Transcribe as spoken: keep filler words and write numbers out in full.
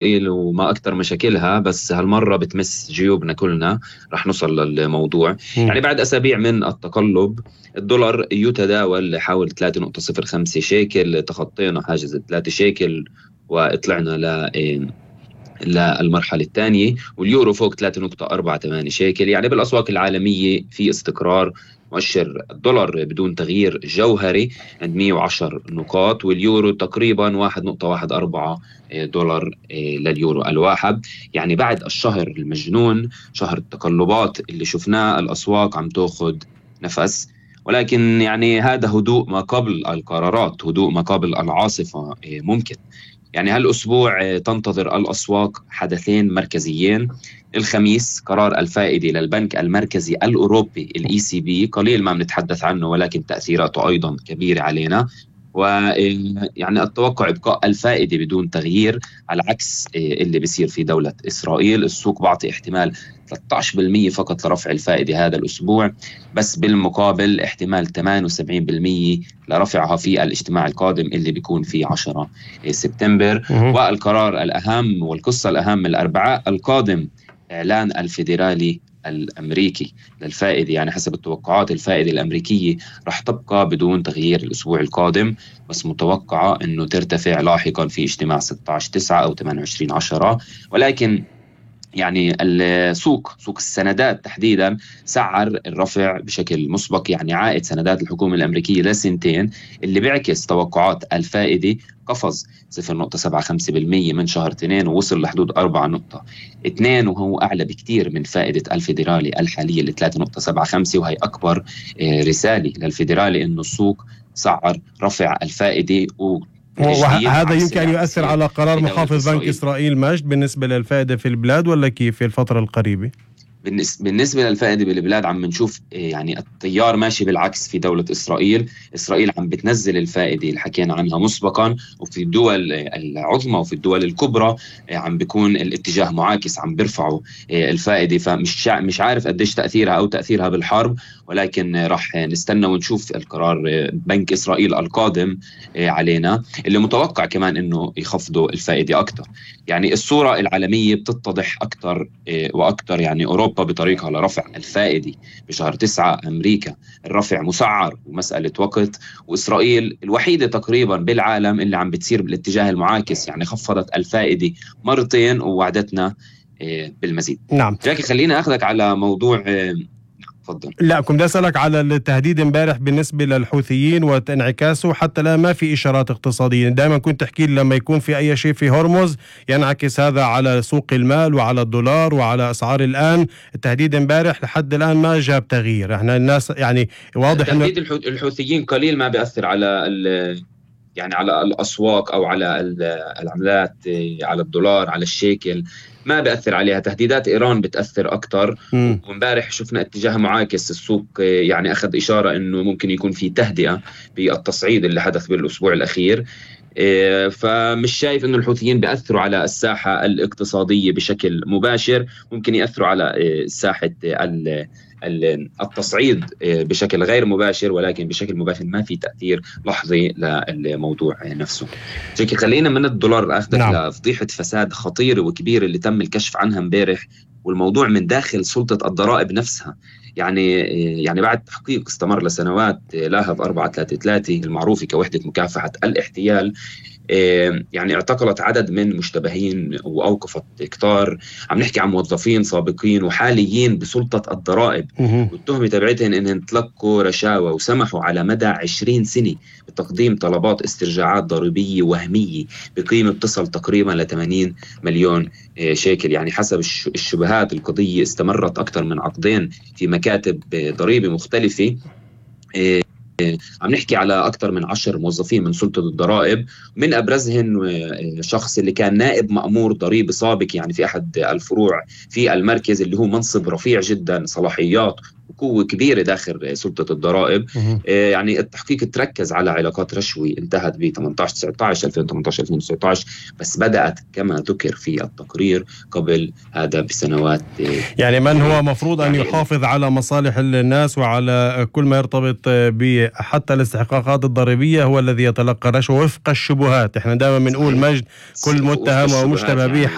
وما أكتر مشاكلها، بس هالمرة بتمس جيوبنا كلنا. رح نوصل للموضوع. م. يعني بعد أسابيع من التقلب الدولار يتداول حول ثلاثة نقطة صفر خمسة شيكل، تخطينا حاجز ثلاثة شيكل وطلعنا ل للمرحلة الثانية، واليورو فوق ثلاثة نقطة أربعة ثمانية شيكل. يعني بالأسواق العالمية في استقرار. مؤشر الدولار بدون تغيير جوهري عند مئة وعشرة نقاط، واليورو تقريبا واحد نقطة واحد أربعة دولار لليورو الواحد. يعني بعد الشهر المجنون، شهر التقلبات اللي شفناه، الأسواق عم تأخذ نفس، ولكن يعني هذا هدوء ما قبل القرارات، هدوء ما قبل العاصفة ممكن. يعني هالأسبوع تنتظر الأسواق حدثين مركزيين. الخميس قرار الفائدة للبنك المركزي الأوروبي الإي سي بي، قليل ما بنتحدث عنه ولكن تأثيراته أيضا كبيرة علينا. ويعني التوقع إبقاء الفائدة بدون تغيير، على عكس اللي بيصير في دولة إسرائيل. السوق بعطي احتمال ثلاثة عشر بالمئة فقط لرفع الفائدة هذا الأسبوع، بس بالمقابل احتمال ثمانية وسبعين بالمئة لرفعها في الاجتماع القادم اللي بيكون في عشرة سبتمبر. والقرار الأهم والقصة الأهم الأربعاء القادم، إعلان الفيدرالي الأمريكي للفائدة. يعني حسب التوقعات الفائدة الأمريكية رح تبقى بدون تغيير الأسبوع القادم، بس متوقعة أنه ترتفع لاحقا في اجتماع ستة عشر تسعة أو ثمانية وعشرين عشرة. ولكن يعني السوق سوق السندات تحديدا سعر الرفع بشكل مسبق. يعني عائد سندات الحكومة الأمريكية لسنتين اللي بيعكس توقعات الفائدة قفز صفر نقطة سبعة خمسة بالمئة من شهر اثنين ووصل لحدود أربعة نقطة اثنين، وهو أعلى بكتير من فائدة الفيدرالي الحالية ل ثلاثة نقطة سبعة خمسة. وهي أكبر رسالة للفيدرالي إنه السوق سعر رفع الفائدة. و وهذا يمكن أن يؤثر على قرار محافظ بنك إسرائيل مجد بالنسبة للفائدة في البلاد، ولا كيف في الفترة القريبة؟ بالنسبة للفائدة بالبلاد عم نشوف يعني التيار ماشي بالعكس في دولة إسرائيل. إسرائيل عم بتنزل الفائدة اللي حكينا عنها مسبقا، وفي الدول العظمى وفي الدول الكبرى عم بيكون الاتجاه معاكس، عم بيرفعوا الفائدة. فمش مش عارف قديش تأثيرها أو تأثيرها بالحرب، ولكن راح نستنى ونشوف القرار بنك إسرائيل القادم علينا، اللي متوقع كمان إنه يخفضوا الفائدة أكتر. يعني الصورة العالمية بتتضح أكتر وأكتر. يعني أوروبا بطريقها لرفع الفائدة بشهر تسعة، أمريكا الرفع مسعر ومسألة وقت، وإسرائيل الوحيدة تقريبا بالعالم اللي عم بتصير بالاتجاه المعاكس. يعني خفضت الفائدة مرتين ووعدتنا بالمزيد. نعم. جاكي خلينا أخذك على موضوع. تفضل. لا كنت أسألك على التهديد امبارح بالنسبة للحوثيين وانعكاسه. حتى الآن ما في إشارات اقتصادية. دائما كنت تحكي لما يكون في أي شيء في هرمز ينعكس هذا على سوق المال وعلى الدولار وعلى أسعار. الآن التهديد امبارح لحد الآن ما جاب تغيير. احنا الناس يعني واضح إنه تهديد الحوثيين قليل ما بيأثر على يعني على الأسواق أو على العملات، على الدولار على الشيكل ما بيأثر عليها. تهديدات إيران بتأثر أكتر. ومبارح شفنا اتجاه معاكس، السوق يعني أخذ إشارة أنه ممكن يكون في تهدئة بالتصعيد اللي حدث بالأسبوع الأخير. فمش شايف أنه الحوثيين بيأثروا على الساحة الاقتصادية بشكل مباشر. ممكن يأثروا على ساحة التصعيد بشكل غير مباشر، ولكن بشكل مباشر ما في تأثير لحظي للموضوع نفسه. شكل خلينا من الدولار أخذك نعم. لفضيحة فساد خطيرة وكبيرة اللي تم الكشف عنها امبارح، والموضوع من داخل سلطة الضرائب نفسها. يعني يعني بعد تحقيق استمر لسنوات، لاهب أربعة ثلاثة ثلاثة المعروفة كوحدة مكافحة الاحتيال يعني اعتقلت عدد من مشتبهين وأوقفت كتار. عم نحكي عن موظفين سابقين وحاليين بسلطة الضرائب، والتهمة تبعتهم إنهم تلقوا رشاوى وسمحوا على مدى عشرين سنة بتقديم طلبات استرجاعات ضريبية وهمية بقيمة تصل تقريبا ل ثمانين مليون شيكل. يعني حسب الشبهات القضية استمرت أكثر من عقدين في مكاتب ضريبة مختلفة. عم نحكي على أكثر من عشر موظفين من سلطة الضرائب، من أبرزهم شخص اللي كان نائب مأمور ضريبي سابق يعني في أحد الفروع في المركز، اللي هو منصب رفيع جدا، صلاحيات وقوة كبيرة داخل سلطة الضرائب. آه يعني التحقيق تركز على علاقات رشوي انتهت ب ثمانية عشر تسعة عشر ألفين وثمانية عشر ألفين وتسعة عشر، بس بدأت كما ذكر في التقرير قبل هذا بسنوات. يعني من هو مفروض أن يحافظ على مصالح الناس وعلى كل ما يرتبط ب يعني حتى الاستحقاقات الضريبية هو الذي يتلقى رشوة وفق الشبهات. احنا دائما بنقول مجد كل متهم ومشتبه به